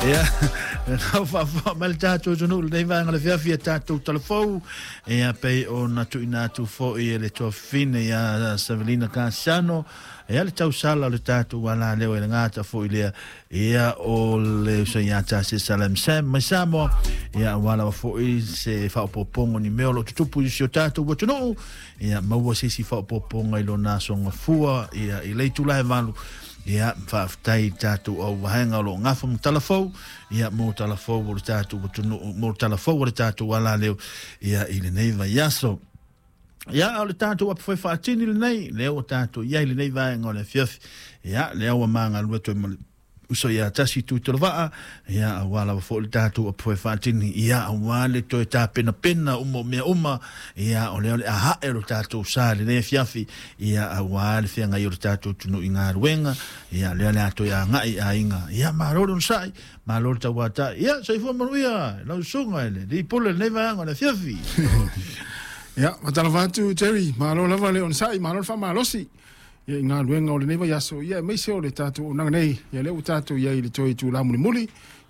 Ia, lau faafofoga mai le tatou atunuu i lenei vaega o le afiafi a tatou talafou, ia pei ona tuuina atu foi e le tuafafine ia Savelina Kasiano, ia le tausala o le tatou alaleo e le gata foi lea, ia o le uso ia Tasi Salam Sam mai Samoa, ia aua lava foi se faaopoopoga o ni mea o lo o tutupu i si o tatou atunuu, ia maua se isi faaopoopoga i lona aso gafua, ia i le itula e 8. Ia, faafetai i tatou au vaega o lo o gafa ma talafou, ia, mo talafou o le tatou atunuu, mo talafou o le tatou alaleo, ia, i lenei vaiaso. Ia, o le tatou apu foi faatini lenei, lea ua tatou i ai i lenei vaega o le afiafi. Ia, lea ua magalue toe ma le uso ia Tasi Tuitolovaa, ia, aua lava foi le tatou apu foi faatini, ia, aua le toe tapenapena uma o mea uma, ia, o lea o le a hae lo tatou sa i lenei afiafi, ia, aua le feagai o le tatou atunuu i galuega, ia, lea o le a toe agai i aiga, ia, malo le onosai, malo le tauatai, ia, soifua manuia lau susuga i le alii pule i lenei vaega o le afiafi. Ia, faatalofa atu Jerry, malo lava le onosai, malo le faamalosi ia i galuega o lenei vaiaso, ia aemaise o le tatou auaunaga nei, ia lea ua tatou i ai i le toe itula mulimuli,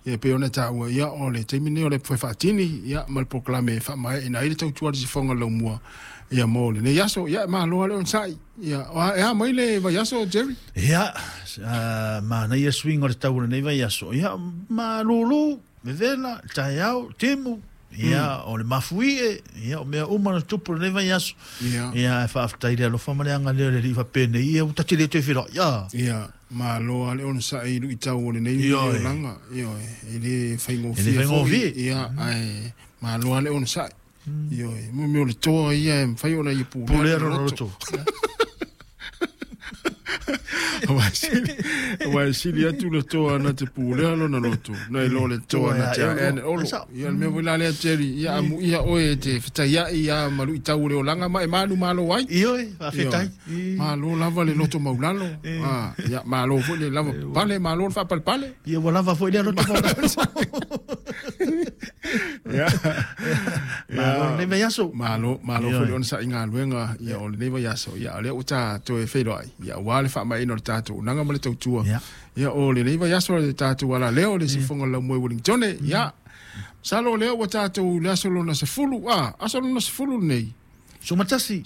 ia e pei ona taua, ia o le taimi lenei o le foe faatini, ia ma le polokalame e faamaeaina ai le tautua a le sifoga o le laumua, ia mo lenei aso, ia malo lava le onosai, ia e a mai le vaiaso Jerry? Ia, manaia suiga o le tau o lenei vaiaso, ia malulu, vevela, taeao, timu, ia, o le mafuie, ia, o mea uma na tupu lenei vaiaso. Ia. Ia, e faafetai le alofa ma le agalelei o le Alii faapenei, ia, ua ta te le toe feiloai. Ia. Ia, malo lava le onosai i luitau o lenei olaga. Ioe, e le faigofie foi. Ia, ae malo lava le onosai. Ioe, mo mea o le toa ia e mafai ona ia pulea lona loto. Aua e sili atu le toa na te pulea lona loto, nai lo le toa na te aea le olo. Ia le mea foi la lea Jerry, ia amuia oe e te fetaiai ia ma luitau o le olaga ma e manumalo ai. Ioe, faafetai. Malo lava le loto maulalo. Ia malo foi le lava pale, malo le faapalepale. Ia ua lava foi lea loto maulalo. Ia. Malo lenei vaiaso. Malo, malo foi le onosai i galuega ia o lenei vaiaso. Ia o lea ua ta toe feiloai, ia aua le faamaeaina o le tatou auaunaga ma le tautua. Ia o lenei vaiaso le tatou alaleo le sifoga o le laumua i Wellingtone. Ia masalo o lea ua tatou i le aso lona 10, aso lona 10 lenei. Sumatasi.